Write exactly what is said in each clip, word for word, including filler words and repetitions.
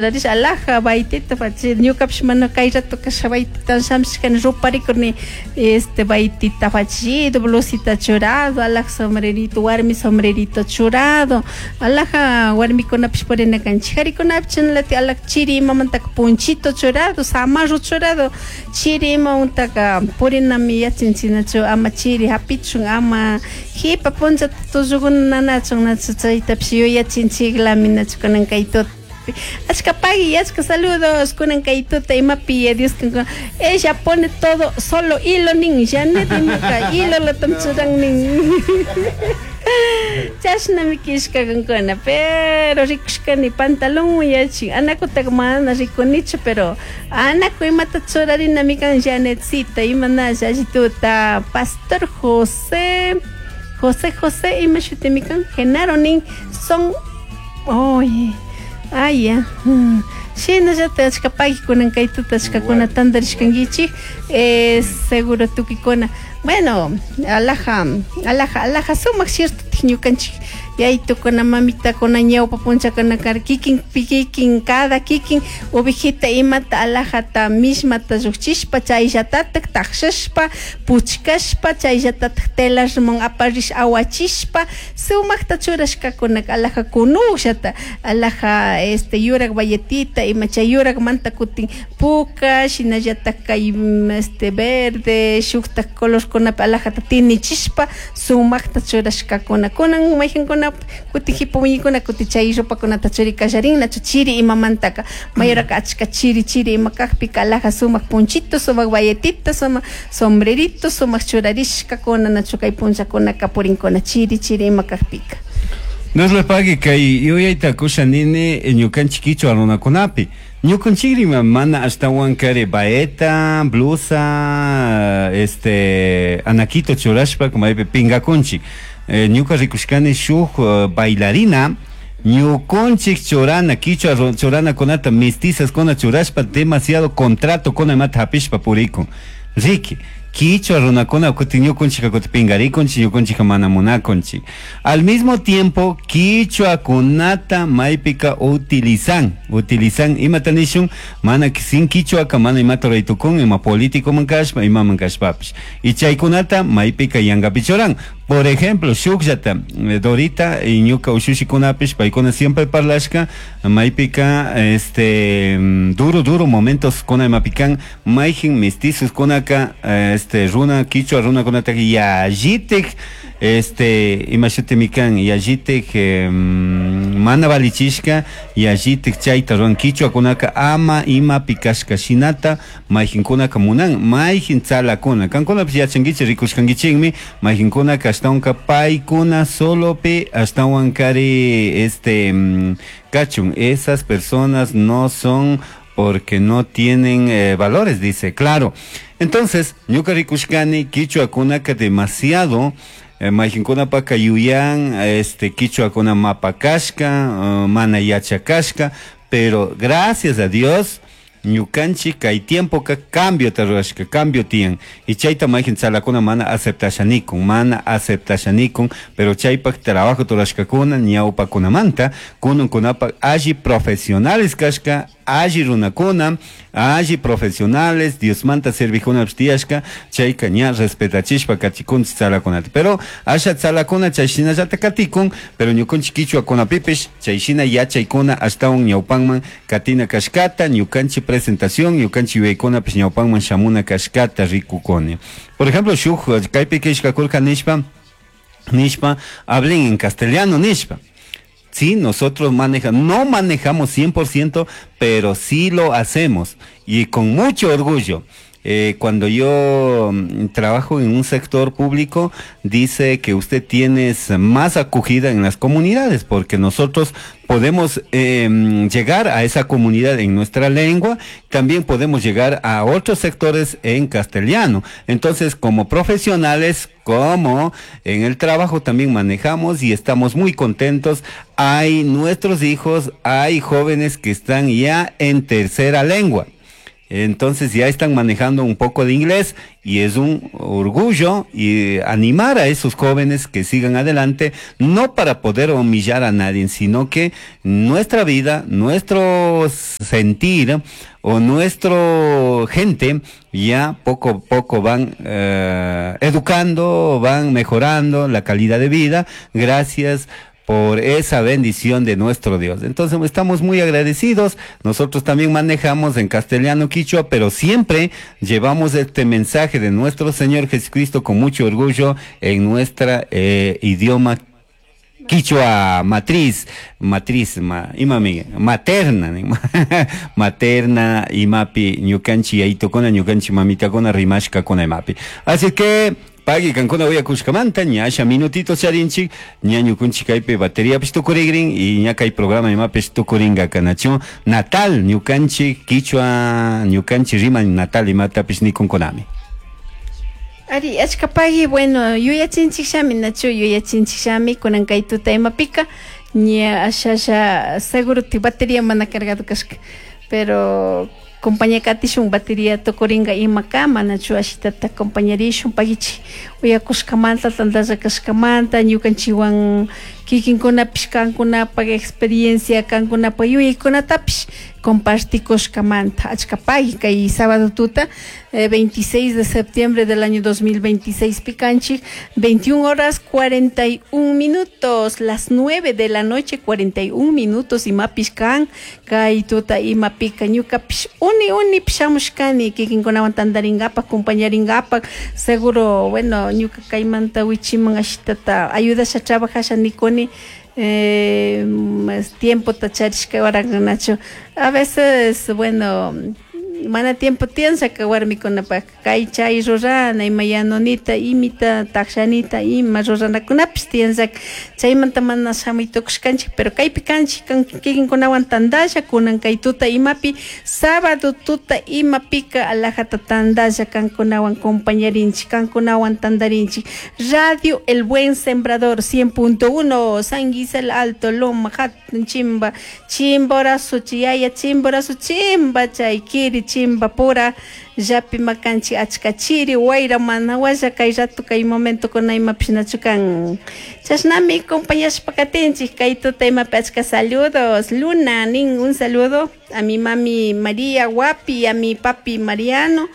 Alhaja bayetita fachido ñukapish mana kay rato kasha bayetita shamshkani ruparikurni este bayetita fachido blusita churado alhaja sombrerito warmi sombrerito churado alhaja warmikunapish purina kanchik karikunapish chashnalatik alhaja chiri imamantaka ponchito churado zamarro churado chiri imamantaka purinami yachanchik nachu ama chiri hapichun ama jipa punchata tullukuna nanachun nachu chaytapish yuyachinchiklami nachu kunan kay tuta. Achka pagui, achka saludos kunan kay tuta imapi Dios ella pone todo solo hilo nin Janet imaka hilo latam churan nin. Chashnami kishkakankuna pero rikushkani pantalón yachin anakutaka mana rikunichu pero anaku imata churarinami kan Janetcita imanalla allituta Pastor José José José ima shutimi kan Genaro nin son oye ay ya shinallatak achka pagui kay tuta achkakuna tantarishkankichik eh, seguro tukikuna bueno alhaja alhaja alhaja sumak cierto ñukanchik yaytukuna mamitakuna ñawpa punchakuna karka kikin kikin cada kikin ovejita imata alhajata mishmata llukchishpa chayllatatak takshashpa puchkashpa chayllatatak telarman aparish awachishpa sumakta churashkakunaka alhaja kunukllata alhaja este yurak bayetita ima chay yurakmanta kutin puka shinallatak kay este verde shuktak colorkunapi alhajata tinichishpa sumakta churashkakuna kunan mayjankuna kutin jipa wiñaykuna kutin chay ropakunata churi kallarin nachu chiri imamantaka mayoraka achka chiri chiri ima kakpika alhaja sumak ponchito sumak bayetita sumak sombrerito sumak churarishkakuna nachu kay punllakunaka purinkuna chiri chiri ima kakpika. Dios le pague kay yuyayta kusha nini ñukanchik kichwa runakunapi ñukanchikrima mana ashtawan kari bayeta blusa este anaquito churashpa maypi pingakunchik eh, ñuka rikushkani shuk uh, bailarina ñukunchik churana kichwa churanakunata mestizas kuna churashpa demasiado contrato kuna imata hapishpa purikun riki kichwa runakuna kutin ñukunchika kutin pingarikunchik ñukunchika mana munakunchik al mismo tiempo kichwakunata maypika utilizan utilizan imata nishun mana sin kichwaka mana imata ruraytukun ima políticoman kashpa imaman kashpapish y chaykunata maypika yankapi churan. Por ejemplo, shukllata Dorita y ñuka ushushikunapish paykuna siempre parlashka maypika este duro duro momentos kuna imapikan mayjin mestizos kunaka este runa kichwa runakunata yallitik este imashutimi kan yallitik eh, mana valichishka yallitik chayta ruran kichwakunaka ama imapi kashka shinata mayjinkunaka munan mayjin tzalakuna kankunapish yachankichik rikushkankichikmi mayjinkunaka ashtawanka paykuna solopi ashtawan kari este kachun esas personas no son porque no tienen eh, valores, dice, claro. Entonces, ñuka rikushkani kichwakunaka demasiado eh, mayjinkunapaka yuyan este kichwakuna mapa kashka uh, mana yachakashka pero gracias a Dios ñukanchik kay tiempoka cambio rurashka cambio tiyan y chayta mayjin tzalakuna mana aceptashanikun mana aceptashanikun pero chaypak trabajo rurashkakuna ñawpakunamanta kunankunapak alli profesionales kashka alli runakuna alli profesionales Diosmanta servijkunapish tiyashka chayka ña respetachishpa katikunchik tzalakunata pero asha tzalakuna chay shinallata katikun pero ñukanchik kichwakunapipish chay shina yachaykuna ashtawan ñawpanman katina kashkata ñukanchik presentación ñukanchik yuyaykunapish ñawpanman shamuna kashkata rikukuni. Por ejemplo, shuk kaypi kishkakurka nishpa nishpa hablen en castellano nishpa. Sí, nosotros manejamos, no manejamos cien por ciento, pero sí lo hacemos y con mucho orgullo. Eh, cuando yo mm, trabajo en un sector público, dice que usted tiene más acogida en las comunidades, porque nosotros podemos eh, llegar a esa comunidad en nuestra lengua, también podemos llegar a otros sectores en castellano. Entonces, como profesionales, como en el trabajo también manejamos y estamos muy contentos. Hay nuestros hijos, hay jóvenes que están ya en tercera lengua. Entonces ya están manejando un poco de inglés y es un orgullo y animar a esos jóvenes que sigan adelante, no para poder humillar a nadie, sino que nuestra vida, nuestro sentir o nuestro gente ya poco a poco van eh, educando, van mejorando la calidad de vida gracias por esa bendición de nuestro Dios. Entonces estamos muy agradecidos. Nosotros también manejamos en castellano quichua, pero siempre llevamos este mensaje de nuestro Señor Jesucristo con mucho orgullo en nuestra eh, idioma quichua matriz, matriz, ma, imami, materna, materna, imapi, ñukanchi yayitokuna, ñukanchi mamitakuna, rimashkakuna imapi. Así que, pagui kankuna uyakushkamanta, ña asha minutito charinchik, ña ñukunchik kaypi bateriapish tukurigrin y ña kay programa imapish tukuringa kanachu natal ñukanchik quichua ñukanchik rima natal imatapish nikunkunami. Ari, achka pagui, bueno, yuyachinchik shami, nachu yuyachinchik shami, kunan kay tuta imapika, ña ashasha seguro ti batería mana cargado kashka, pero compañía katishun batería tukuringa imakama, nachu ashitata compañarishun pagichi, uyakushkamanta, tantalla kashkamanta, ñukanchiwan kikinkunapish kankunapak experiencia, kankunapak yuyaykunatapish compartikushkamanta. Achka pagui kay sábado tuta, eh, veintiséis de septiembre del año dos mil veintiséis picanchik, veintiuna horas cuarenta y un minutos, las nueve de la noche cuarenta y un minutos imapish kan, kay tuta imapika ñukapish uni uni pishamushkani kikinkunawan tantaringapak, compañaringapak, seguro, bueno, ñuka kaymanta wichiman ashitata ayudasha trabajasha nikuni, eh, más tiempo tacharishka waranganachu. A veces, bueno, mana tiempo tiensa que warmikunapak kay chay rurana ima yanunita imita takshanita ima ruranakunapish tiensa chaymanta mana shamuy tukushkanchik, pero kaypi kanchik kikinkunawan tantalla kunan kay tuta imapi sábado tuta imapika alajata tantalla kankunawan compañarinchik kankunawan tantarinchik. Radio El Buen Sembrador cien punto uno, San Gisel Alto, Loma, Hatun, Chimba, Chimborazo, Chiyaya, Chimborazo, Chimba, Chaykiri, Chimba pura, llapi makanchi achka chiri, wayra mana walla kay rato kay momento kuna imapish nachu kan. Chashnami compañashpa katinchik kay tuta imapi achka saludos. Luna, nin un saludo a mi mami María Guapi, a mi papi Mariano,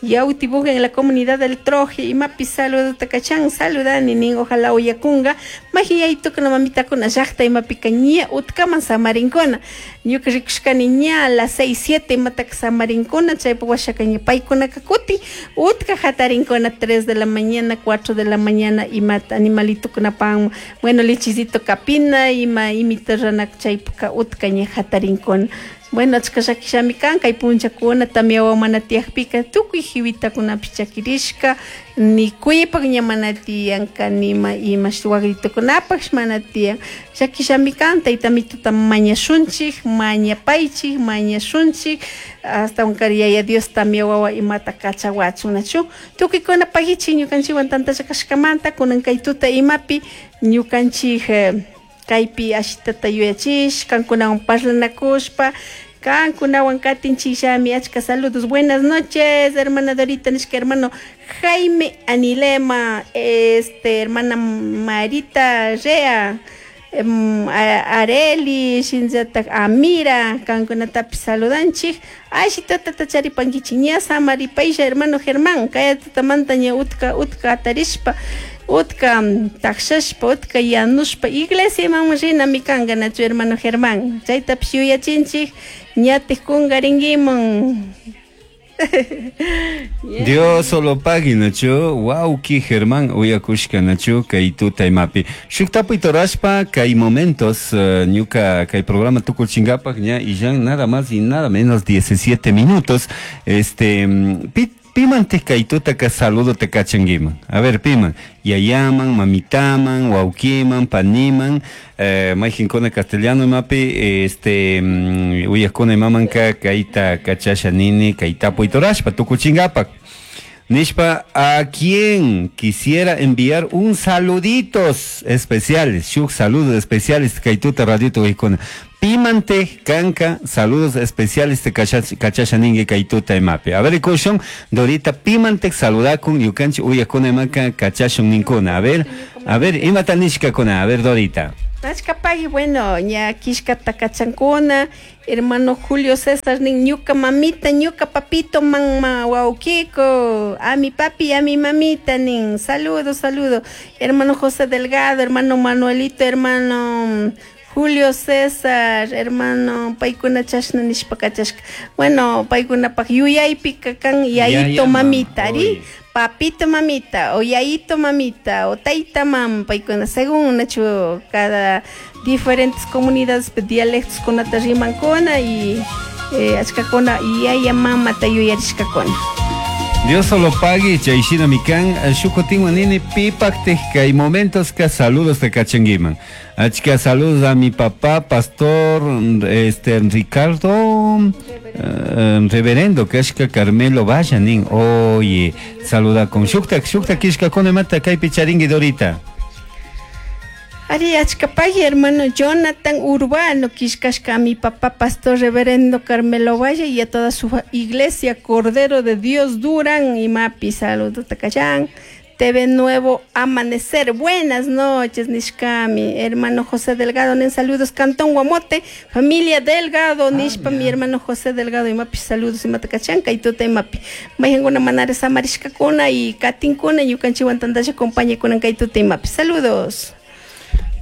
Yautibuga en la comunidad del Troje, imapi saludo takachan, saludani nin, ojalá uyakunga, mahiyaito kuna mamita kuna llaqta imapi kañia utkaman samarinkuna, ñuka rikushkani ña a las seis, siete imataka samarinkuna, chaypa washakaña paykunaka kuti, utka hatarinkuna tres de la mañana, cuatro de la mañana, imata animalito kunapan, bueno, lechizito kapina, ima imita ranak chaypaka utka ña hatarinkuna. Bueno, achka llakishami kan, kay punchakuna tamia mana tiyakpika tukuy jiwitakunapish chakirishka, ni kuypak ña mana tiyanka, nima ima wagritukunapash mana tiyan. Llakishami kan, tayta mituta mañashunchik, mañapaychik, mañashunchik, hasta un yaya Dios tamia wawa imata kachawachun nachu. Tukuykuna pagichik ñukanchikwan tantalla kashkamanta, kunan kay tuta imapi ñukanchik eh, kaypi ashitata yuyachish, kankunawan parlanakushpa, kankunawan katinchishami, achka saludos. Buenas noches, hermana Dorita, nishka hermano Jaime Anilema, este, hermana Marita Rea, em, Areli, shinllatak Amira, kankunatapi saludanchik. Ashitata tacharipankichik, ña samaripaysha, hermano Germán, kaya tutamanta ña utka, utka atarishpa, utka takshashpa, utka yanushpa, iglesia imaman rinami kanka nachu hermano Germán, chaytapish yuyachinchik, ñatik kungarinkiman. Yeah. Dios solo pagui nachu, wauki Germán uyakushka nachu kay tuta imapi. Shuk tapuy torashpa kay momentos uh, ñuka kay programa tukuchingapak ña y ya nada más y nada menos diecisiete minutos. Este pit Piman te kaituta ka saludo te kachanguiman. A ver, piman. Yayaman, mamitaman, waukiman, paniman, eh, majinkuna castellano mapi, este, uyakuna imamanka, kaita kachasha nini, kaitapu itorashpa, tukuchingapak. Nishpa, a quien quisiera enviar un saluditos especiales, shuk saludos especiales, kaituta radito ikuna. Pimante kanka, saludos especiales te kachasha ningi kay tuta imapi. A ver, kushun, Dorita, pimante saludakun, ñukanchik uyakuna imaka kachashun ninkuna. A ver, a ver, imata nishkakuna, a ver, Dorita. Achkapagui, bueno, ña kishkata kachankuna, hermano Julio César nin ñuka mamita, ñuka papito, mamá, wawkiko, a mi papi, a mi mamita nin, saludo, saludo, hermano José Delgado, hermano Manuelito, hermano Julio César, hermano paykuna chashna nishpa kachashka. Bueno, paykunapak yuyaypika kan yayito mamita, ari? Papito mamita, o yayito mamita, o taita mam, paykuna, según nachu cada diferentes comunidades dialectos kunata rimankuna y eh, achkakuna yaya mamata yuyarishkakuna. Dios solo pague, chayshina mikan, shukutinwan nini pipaktik kay momentos ka saludos te kachanguiman. Achka saludos a mi papá, pastor este Ricardo eh, reverendo kashka Carmelo Valla nin. Oye, saluda con shukta shukta kishka mata kaypi charingui Dorita. Ari achkapagui, hermano Jonathan Urbano, kishkashka a mi papá, pastor reverendo Carmelo Valle y a toda su iglesia, Cordero de Dios Durán y Mapi, saludos takachan. T V Nuevo Amanecer, buenas noches, nishkami, hermano José Delgado, nen saludos, Cantón Guamote, familia Delgado, ah, nishpa, mi hermano José Delgado y Mapi, saludos, y matakachanka, y tuta y Mapi, mayanguna manare samarishkakuna y katinkuna, ñukanchiwan tandasha compañía kunan kay tuta y Mapi, saludos.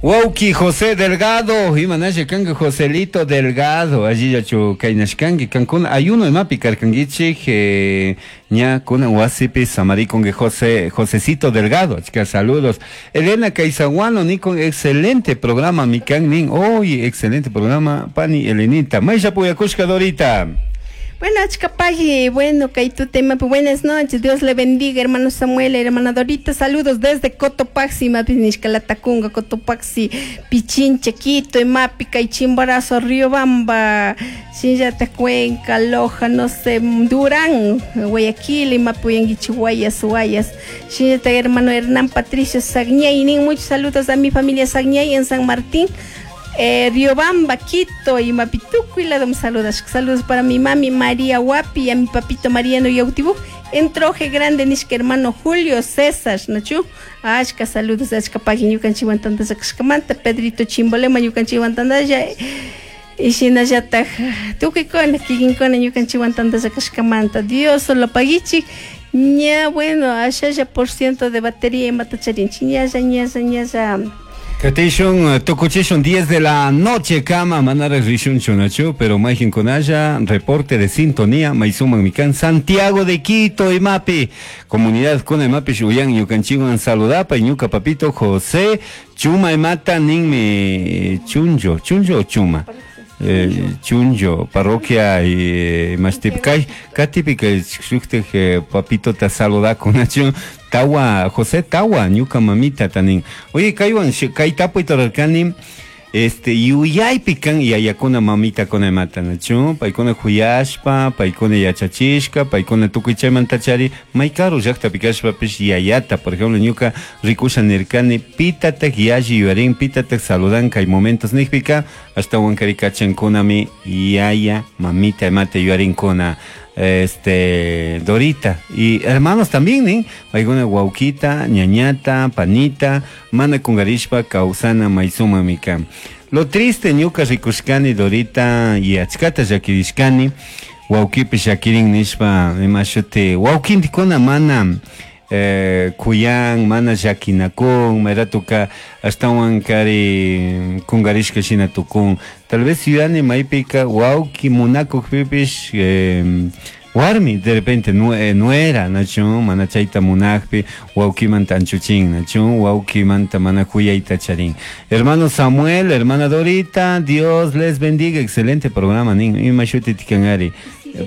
Wauki José Delgado, imanasha kanga Joselito Delgado, allí yachu kainashkangi, kankuna ayuno imapi karkangichik, eh, ña kuna wasipi samarikonge José, Josecito Delgado, chicas, saludos. Elena Caizaguano, nikon, excelente programa, mikan nin, oye, excelente programa, pani Elenita, Maisha Puyakushka Dorita. Bueno, achkapagui, bueno, kay tema, buenas noches, Dios le bendiga, hermano Samuel, hermana Dorita, saludos desde Cotopaxi, mapi nishkalatacunga, Cotopaxi, Pichinche, Quito, Mapi, Chimborazo, Riobamba, Shinllata, Cuenca, Loja, no sé, Durán, Guayaquil, Mapi, Guayas, Guayas, Shinllata, hermano Hernán Patricio Sagñay, muchos saludos a mi familia Sagñay en San Martín. Eh, Riobamba, Quito y Mapituco y la dom saludas. Saludos para mi mami María Guapi y a mi papito Mariano Yautibú. En Troje Grande, nishka hermano Julio César, ¿nachu? Ashka, saludos, ashka pagui, ñukanchiwan tandalla kashkamanta, Pedrito Chimbolema, ñukanchiwan tandalla, y shinallataj tukuykuna, kikinkuna, ñukanchiwan tandalla kashkamanta. Dios solo paguichik. Ña, bueno, ashalla por ciento de batería y matacharinchi, ñalla, ñalla, ñalla. Katishun, tukuchishun, diez de la noche, kama, manara rishun chunachu, pero majin konaya, reporte de sintonía, maisuman mikan, Santiago de Quito, imapi, comunidad kuna imapi, shuyan, ñukanchiwan saludapa, y ñuka papito José, chuma imata, ninmi, chunjo, chunjo o chuma. Eh, Chunjo, parroquia y mastipkay, katipika shukte papito ta saluda con Tawa, José Tawa, ñuka mamita tanin. Oye, kaywan, kay tapuy torarkani, este, yuyaypi kan yayakuna mamita kuna imata, nachu, paykuna huyashpa, paykuna yachachishka, paykuna tukuy chaymanta chari, may karu llaqtapi kashpapish yayata, por ejemplo, ñuka rikusha nirkani, pitatak yalli yuyarin, pitatak saludan kay momentos nijpika, ashtawan kari kachankunami yaya mamita imata yuyarinkuna. Este, Dorita y hermanos también, ¿eh? Paykuna wawkita, ñañata, panita, mana kungarishpa, kawsana maysuma mika. Lo triste ñuka rikushkani Dorita y achkata llakirishkani, wawkipi llakirin nishpa imashuti wawkintikuna mana eh, kuyan, mana llakinakun, mayratuka ashtawan kari kungarishka shina tukun. Tal vez yuyani maypika wawki munakukpipish eh, warmi de repente nuera, nachu, mana chayta munakpi wawkimanta anchuchin, nachu, wawkimanta mana kuyayta charin. Hermano Samuel, hermana Dorita, Dios les bendiga, excelente programa, nin, ima shuti tikanari.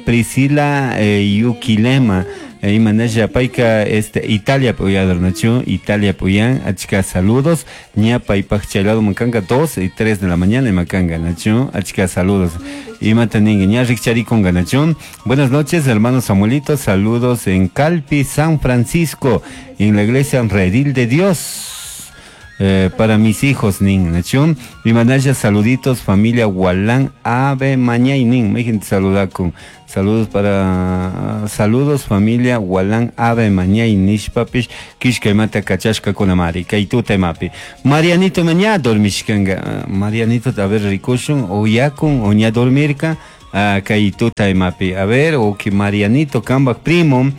Priscila eh, Yuquilema, imanasha payka este Italia puyador nachu, Italia puyan, achka saludos, ña paypaj chaylado mankanga dos y tres de la mañana makanga nachu, achka saludos. Imata ningue ña rikcharikunga nachu. Buenas noches, hermano Samuelito, saludos en Calpi, San Francisco, en la iglesia Redil de Dios. eh, para mis hijos nin nachu imanalla saluditos familia Gualán Ave Mañay nin mayjin saludakun saludos para saludos familia Gualán Ave Mañay nishpapish kishka imata kachashkakunamari kay tuta imapi Marianito maña dormishkanga Marianito a ver rikushun o yakun o ña dormirka uh, kay tuta imapi a ver o que Marianito kambak primo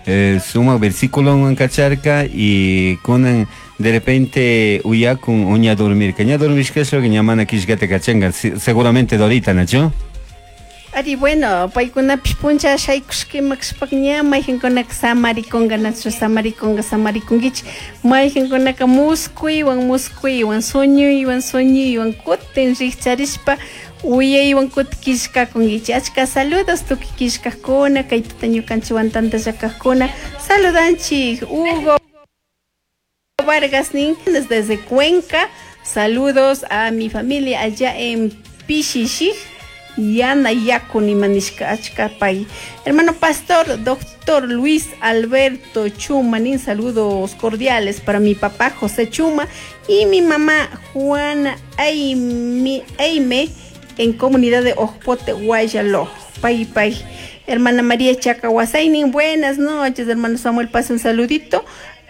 eh, suma versículo kacharka y kunan de repente uyakun o ña dormirka ña dormishka ña mana kishkata kachanka seguramente Dorita nachu. Ari, bueno, paykunapish puncha shaykushka imakashpaka ña mayqinkunaka samarikunka nachu samarikunka samarikunkichik mayqinkunaka muskuywan muskuywan suñuywan suñuywan kutin rikcharishpa uyaywan kutin killkakunkichik achka saludos tukuy killkakuna kay tuta ñukanchikwan tantallakakuna saludanchik Hugo Vargas nin desde Cuenca, saludos a mi familia allá en Pichixij Yana Yakuni manishka achka pay. Hermano pastor, doctor Luis Alberto Chuma, nin saludos cordiales para mi papá José Chuma y mi mamá Juana Aime, Aime en comunidad de Ojpote, Guayaló. Pay, pay. Hermana María Chacahuasainin, buenas noches, hermano Samuel, pasa un saludito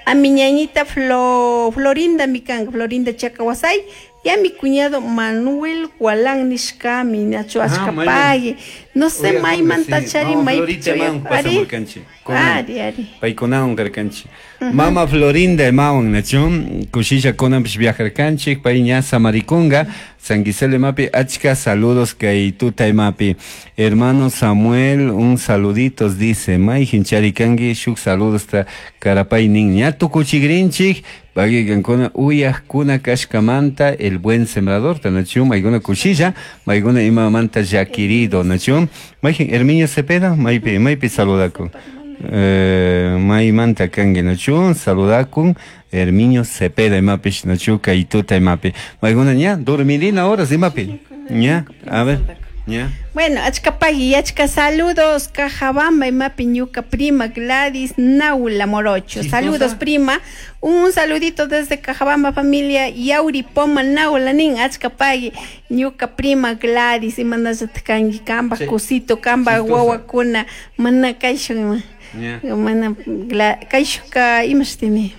a mi ñañita Flo, Florinda Micanga, Florinda Chacahuasay, y a mi cuñado Manuel Gualán nishkami, nacho achka pague. No sé, may mantachari, may ari, ari, ari. Paykunawan karkanchik. Mama Florinda imawan nachu, kushilla kunanpish viajarkanchik, pay ña samarikunga, San Gisele imapi, achka saludos kay tuta imapi. Hermano Samuel, un saluditos dice, mayjin charikanki, shuk saludos ta karapay nin, ña tukuchigrinchik, pagui kankuna uyajkuna kashkamanta, el buen sembrador, nachu, maykuna kushilla, maykuna imamanta llakirido, nachu, mayjin Herminio Cepeda, maypi, maypi saludakun. Eh, maymanta kanki nachu, saludakun Herminio Cepeda imapish nachu kay tuta imapi. Maykuna ña dormirina horas imapi. Ña, a ver. Ña. Bueno, achka pagui, achka saludos, Cajabamba imapi ñuka prima Gladys Naula Morocho. Saludos prima, un saludito desde Cajabamba familia Yauri Poma Naula nin achka pagui, ñuka prima Gladys imanallataq kanki kamba kusito kamba wawakuna mana kayshun ima. Mana kayshuka imashtimi.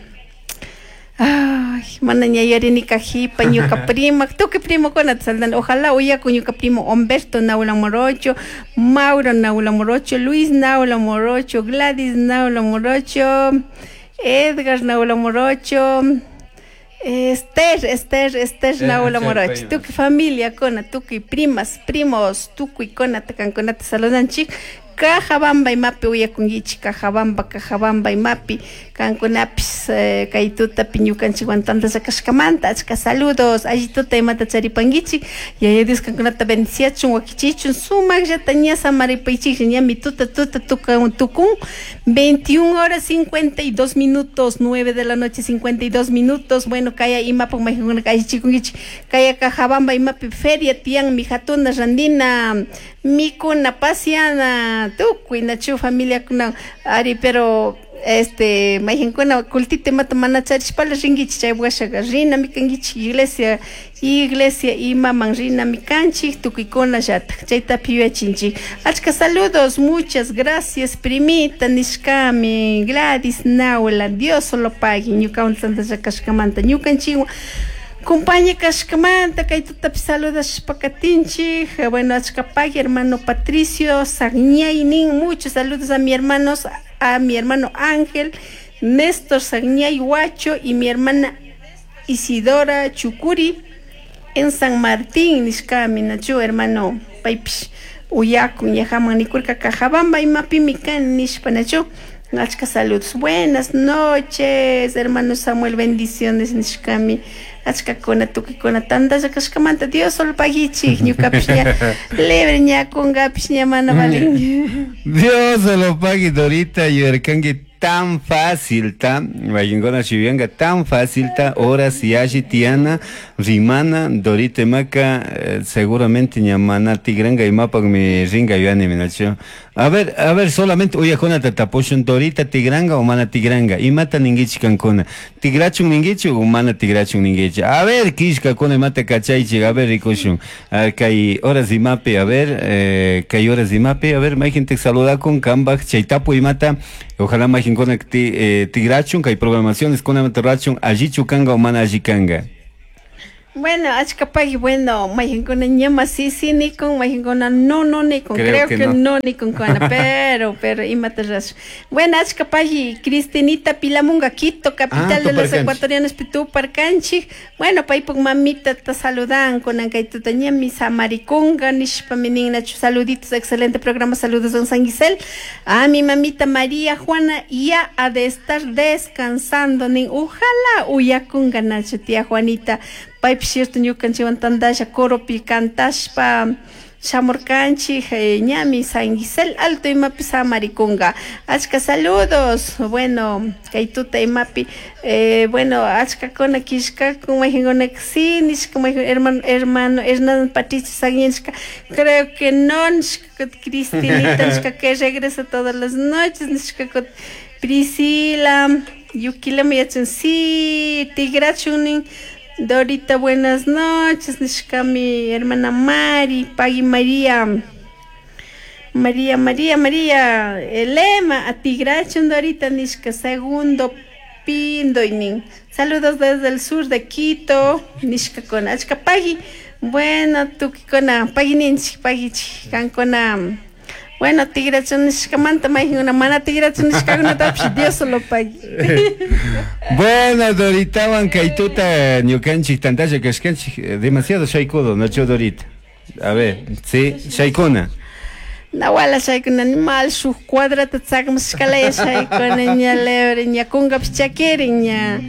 Ay, mana ña yuyarini kajipa ñuka prima, tukuy primokunata saludan. Ojalá uyakun ñuka primo Humberto Naula Morocho, Mauro Naula Morocho, Luis Naula Morocho, Gladys Naula Morocho, Edgar Naula Morocho, Esther, Esther, Esther Naula Morocho. Tukuy familia kuna, tukuy primas, primos, tukuy kunata kankunata saludanchik. Cajabamba imapi uyakunkichik, Cajabamba, Cajabamba imapi, kankunapis eh, kay tutapi ñukanchikwan tantalla kashkamanta, achka saludos, alli tuta imata charipankichik, Yaya Dios kankunata bendiciachun, wakichichun, sumaqllata ña samaripaychik, ñami tuta tuta tukan tukun, veintiuna horas cincuenta y dos minutos, nueve de la noche cincuenta y dos minutos, bueno, kaya imapaq mayqinkunaka allichikunkichik, kaya Cajabamba imapi feria tiyan mi hatuna randina, mikuna pasiana, tukuy nachu familiakuna ari, pero este mayqinkuna kultita imata mana charishpala rinkichik chay washaqa rinami kankichik iglesia iglesia imaman rinami kanchik tukuykuna llatak chaytapi yuyachinchik. Achka saludos, muchas gracias primita nishkami Gladys Naula, Dios lo pague ñukawan tantalla kashkamanta ñukanchikwan compañía kashkamanta kay tutapi saludashpa katinchik. Bueno, achka pagui hermano Patricio Sagñay nin, muchos saludos a mi hermanos, a mi hermano Ángel, Néstor Sagñay Huacho y mi hermana Isidora Chucuri en San Martín nishkami nachu hermano paypish uyakun yajaman nikurka Cajabamba imapimi kan nishpa nachu. Achka saludos. Buenas noches, hermano Samuel, bendiciones nishkami. Achka kuna tukuykuna tantalla kashkamanta Dios solo paguichik ñukapish ña libre ña kunkapish ña mana valin. Dios lo pague Dorita yuyarkanki Tan fácil ta, mayqinkuna yuyanka tan fácil ta, horas yalli tiyana, rimana, Dorita imaka, eh, seguramente ña mana tigranka imapakmi rinka yuyani nachu. A ver, a ver, solamente uyakunata tapushun, Dorita tigranga o mana tigranga, imata ninkichik kankuna, tigrachun ninkichik o mana tigrachun ninkichik. A ver, killkakuna imata kachaychik, a ver rikushun. A kay horas imapi, a ver, eh, kay horas imapi, a ver, mayqintik saludakun, kanpak chay tapuy imata, ojalá mayqinkuna ti, eh, tigrachun, kay programaciones kunamanta rurachun, allichu kanka o mana alli kanka. Bueno, achkapaki, bueno, mayqinkuna ñama sí sí nikun, mayqinkuna no no nikun, Creo creo que que no. no nikunkuna, pero, pero imata rash. Bueno, achkapaki, Cristinita Pilamunga, Quito, capital Ah, de los Tuparcanchik. ecuatorianos, Tuparcanchik. Bueno, paypuk mamita ta saludan, kunan kay tuta ñami samarikunga, nishpa mi nin nachu, saluditos, excelente programa, saludos don San Gisel. A mi mamita María Juana ya ha de estar descansando, nin, ojalá uyakunga nachu, tía Juanita. Paypish cierto ñukanchikwan tandasha coropi cantashpa shamurkanchik, eh, ñami San Gisel Alto imapi samarikunga. Achka saludos, bueno, kay tuta imapi, eh, bueno, achkakuna killkakun, mayqinkuna sí nishka, mayqin hermano, hermano Hernán Patricio Saguinchka, creo que no, nishka, Cristinita nishka que regresa todas las noches, nishka, Priscila, Yukilama yachan, sí, tigrachun nin. Dorita, buenas noches, nishka mi hermana Mari, Pagui María, María, María, María, Elema, atigrachun Dorita, nishka, segundo pindoynin. Saludos desde el sur de Quito, nishka con achka pagui. Bueno, tukikuna, pagui ninchik, paguichik, kankuna. Bueno, tigrachun nishkamanta, mayqinkuna mana tigrachun nishkakunatapish Dios lo pagui. Bueno, Doritawan kay tuta ñukanchik tantalla kashkanchik, eh, demasiado shaykudo, nachu Dorita. A ver, sí, shaykuna. Nawala shaykuna, mal shuk cuadrata tsakmashkalaya shaykuna, ña lebre, ña kunkapish chakirin, ña,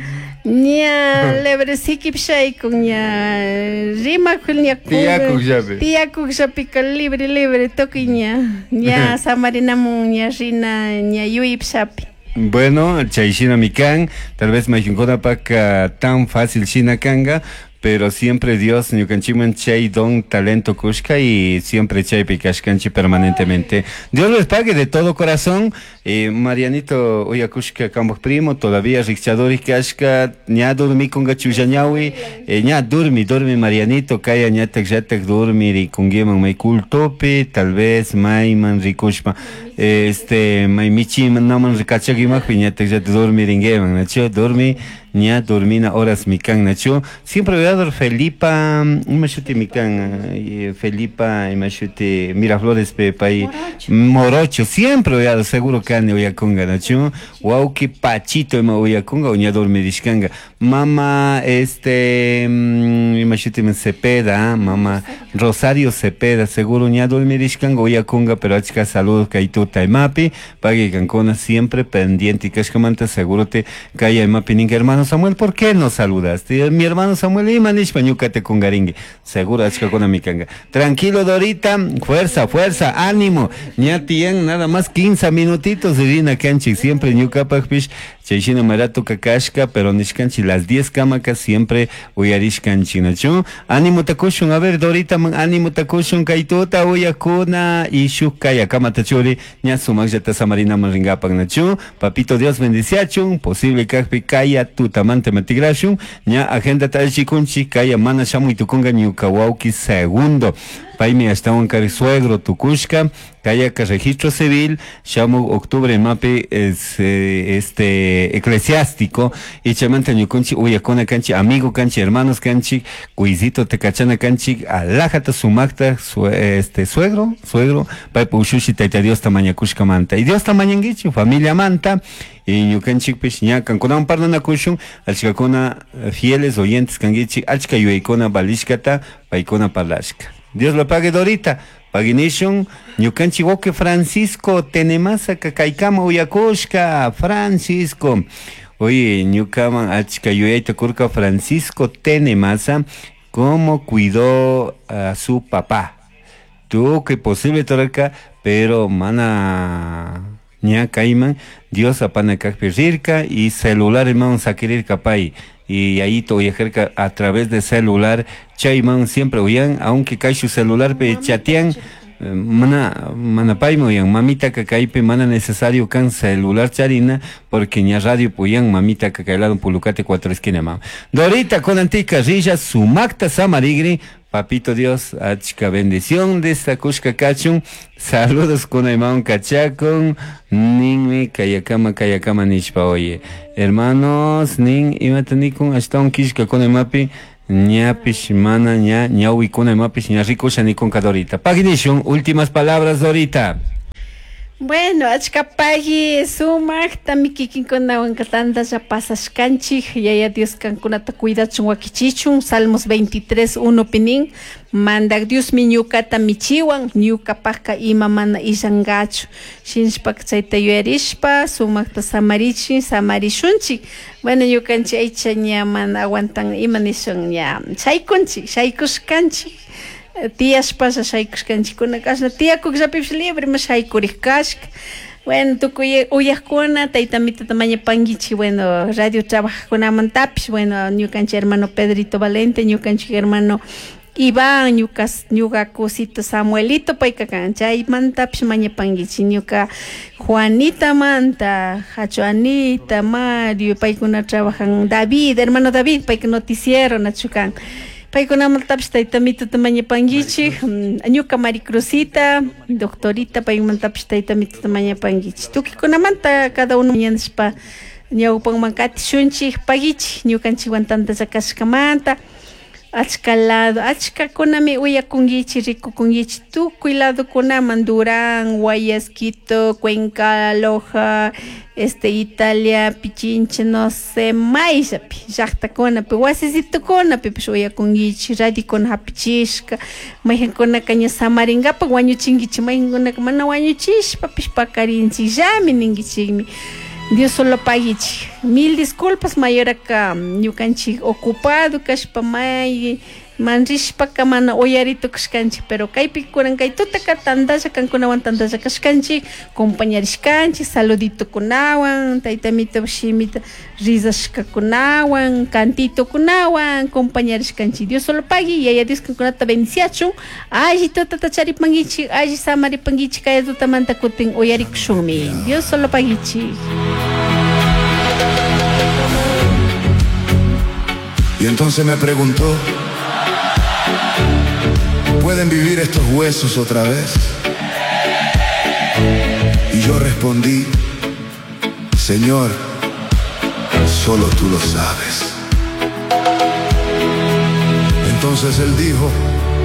ña lebre sikipish shaykun, ña rimakul, ña Tiyakukllapi. Tiyakukllapika libre, libre, tukuy ña, ña samarinamun, ña rina, ña yuyipshapi. Bueno, chay shinami kan, tal vez mayqinkunapak tan fácil shina kanga, pero siempre Dios ñukanchikman chay don talento kushka y siempre chaypi kashkanchik permanentemente. Dios les pague de todo corazón. Eh, Marianito uyakushka kambaj primo, todavía rikchadori kashka, ña dormikunga chullañawi, eh, ña durmi, durmi Marianito, kaya ñatak llatak dormi rikunguiman may cultopi, tal vez mayman rikushpa, este, may michiman naman rikachakimakpi ñatak llatak dormi ringuiman, nachu, dormi, ña dormina horas mikan, nachu. Siempre veador Felipa, imashuti mikan, eh, Felipa, imashuti Miraflores pe pay Morocho, siempre veador, seguro kani uyakunga, nachu. Wauki Pachito ima uyakunga, uña dormirishkanga. Mama, este, mm, imashuti Cepeda, mama Rosario Cepeda, seguro ña dormirishkanga uyakunga, pero achka saludos kaytuta imapi, pagui kankuna siempre pendiente y kashkamanta seguro te kaya imapi ninka hermano Samuel, ¿por qué no saludaste? Mi hermano Samuel ima nishpa ñukate kungaringue, seguro achkakuna mikanga. Tranquilo Dorita, fuerza, fuerza, ánimo. Ña tiyan nada más quince minutitos rina kanchik, siempre ñukapakpish chayshina marato kakashka, pero nishkanchik las diez kamaka siempre uyarishkanchik, nachu. Ánimo takushun, a ver Dorita, man, ánimo takushun, kaytuta uyakuna y shuk kaya kamata churi, ña sumakllata samarina man ringapak, nachu. Papito Dios bendiciachun, posible kakpi kaya tutamante matigrashun, ña agenda talchikunchi, kaya mana shamuy tukunga ñuka wawki segundo. Paymi ashtawan kari suegro tukushka, kayaka registro civil, shamu octubre mapi es, eh, este eclesiástico, y chamanta ñukunchi uyakuna kanchi, amigo kanchi, hermanos kanchi, cuisito te kachana kanchi, alajata sumakta, su, este suegro, suegro, paypa ushushi tayta Dios tamañakushka manta. Y Dios tamañanguichi, familia manta, y ñukanchikpish ña kankunawan parlanakushun, achkakuna fieles oyentes kanguichi, achka yuyaykuna valishkata, paykuna parlashka. Dios lo pague Dorita. Paginishun, ñukanchik wawqi Francisco Tenemasa kaykama uyakushka, Francisco. Oye, ñukaman achka yuyayta kurka Francisco Tenemasa, cómo cuidó a su papá. Tuvo que posible torarka, pero mana Ña kayman Dios apana kakpi rirka y celular imawan sakirirka pay y yayito uyajarka a través de celular chayman siempre uyan aunque kayshu celularpi chatean mana mana paymi uyan mamitaka kaypi mana necesario kan celular charina porque ña radio puyan mamitaka kay lado Pulucate cuatro esquina mama Dorita kunantika rilla sumakta samarigri Papito Dios, achka bendición de esta kushka kachun. Saludos kunayman kachakun. Ninmi kayakama kayakama nishpa oye. Hermanos, nin imata nikun ashtawan kishka kunaymapi ñapish mana ña ñawi kunaymapish ña rikusha nikun ka Dorita. Paginishun, últimas palabras Dorita. Bueno, achkapaqui sumaqtami kikinkunawan tantalla pasashkanchik yaya Dios kankunata cuidachun wakichichun Salmos veintitrés uno pinin mandak Diosmi ñukata michiwan ñukapaqka ima mana illankachu shinashpaka chayta yuyarishpa sumaqta samarichin samarishunchik bueno ñukanchik aycha ña mana aguantan ima nishun ña shaykunchik shaykushkanchik tiyashpasha shaykushkanchikkuna kashna tiyakukllapipish libre ma shaykurik kashka bueno tukuy uyaqkuna tayta mitata mañapankichik bueno radio trabajaqkunamantapish bueno ñukanchik hermano Pedrito Valente ñukanchik hermano Iván ñuka ñuka cosito Samuelito payka kan chaymantapish mañapankichik ñuka Juanita manta Hacho Anita Mario paykuna trabajan David hermano David payka noticiero nachu kan paykunamantapish tayta mitata mañapankichik ñuka Maricruzita doctorita paymantapish tayta mitata mañapankichik tukikunamanta cada uno mañanishpa ñawpanman katishunchik pagichik ñukanchikwan tantalla kashkamanta achka lado achkakunami uyakunkichik rikukunkichik tukuy ladokunaman Durán, Guayas, Quito, Cuenca, Loja, este Italia, Pichincha, no sé, mayllapi llaqtakunapi wasisitukunapipish uyakunkichik radiokuna hapichishka mayqankunaka ña samarinkapak wañuchinkichik mayqankunaka mana wañuchishpapish pakarinchikllami ninkichikmi Dios solo pagichik mil disculpas mayoraka ñukanchik ocupado kashpa may manrishpaka mana uyaritukushkanchik pero kaypi kunan kay tutaka tantalla kankunawan tantalla kashkanchik compañarishkanchik saluditukunawan tayta mito shimita rizashkakunawan cantitukunawan compañarishkanchik Dios solo pagui yaya Dios kankunata bendiciachun alli tutata charipankichik alli samaripankichik kay tutamanta kutin uyarikushunmi Dios solo pagichik. Y entonces me preguntó, ¿pueden vivir estos huesos otra vez? Y yo respondí, Señor, solo tú lo sabes. Entonces él dijo,